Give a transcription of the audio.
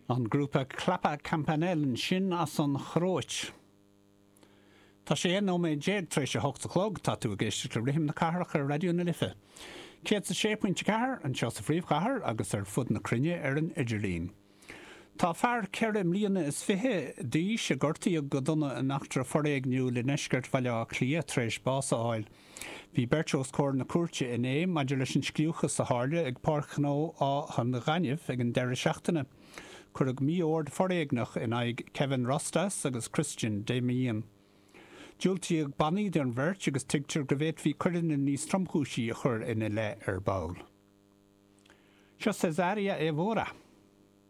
An grúpa Klapa Campanelle ansin as an Chróit. Tá sé 11 nóiméad tar éis a hocht a chlog, tá tú ag éisteacht le Rithim na Cathrach ar Raidió na Life. 106.4 anseo sa phríomhchathair agus ar fud na cruinne ar an idirlíon. Tá fear ceithre mbliana is fiche d'aois a gortaíodh go dona in eachtra foréigniúil i ndeisceart Bhaile Átha Cliath tar éis bás a fháil. Bhí beirt os comhair na cúirte inné maidir leis an scliúchas a tharla ag Páirc Ghnó Áth an Ghainimh ag an deireadh seachtaine. Cuireadh mí-ord foréigneach in aghaidh Kevin Rostas agus Christian Damien. Diúltaíodh bannaí don bheirt agus tuigtear go bhféadfaí coireanna níos tromchúisí a chur ina leith ar ball. Seo Cesária Évora.